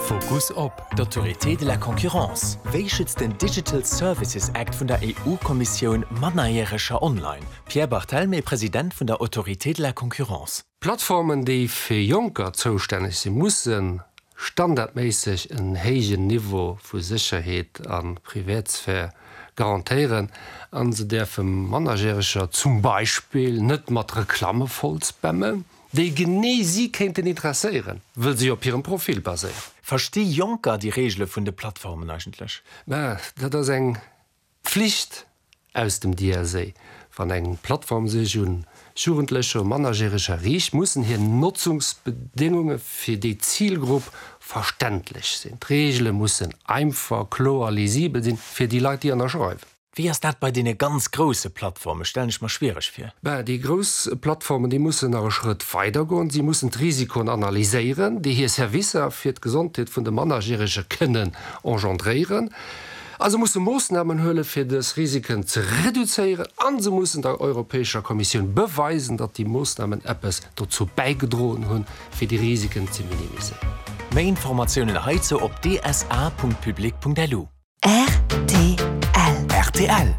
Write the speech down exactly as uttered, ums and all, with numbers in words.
Fokus op. D'Autorité de la concurrence. Wéi schützt den Digital Services Act vun der EU-Kommissioun Mannerjäreger online? Pierre Barthelmé, President vun der Autorité de la concurrence. Plattformen, déi fir Jonker zoustänneg sinn, musse standardméisseg en héijen Niveau vu Sécherheet a Privatsphär garantéieren an se däerfe Mannerjäreger zum Beispill net mat Reklamme vollspammen, déi genee si kéinten interesséieren, wëll si op hirem Profil baséieren. Versti Jonker déi Reegele vun de Plattformen eigentlech? Mä dat ass eng Pflicht aus dem D S A. Wann eng Plattform sech un Jugendlecher, Mannerjäreger riicht, mussen hir Notzungsbedéngunge fir déi Zilgrupp verständlech sinn. D'Reegele mussen einfach, kloer, lisibel sinn fir déi Leit, déi ënnerschreiwen. Wéi ass dat bei deene ganz grousse Plattformen? Stellen ech mer schwiereg vir. Bah, déi grouss Plattformen, déi mussen nach e Schrëtt weider goen. Si mussen d'Risikoen analyséieren, déi hir Servicer fir d'Gesondheet vun de Mannerjärege kënnen engendréieren. A se musse Moossnamen huele fir dës Risiken ze reduzéieren an se mussen der Europäescher Kommissioun beweisen, datt déi Moossnamen eppes dozou bäigedroen hunn, fir déi Risiken ze minimiséieren. Méi Informatiounen heizou op dsa Punkt public Punkt lu. R T L. R T L.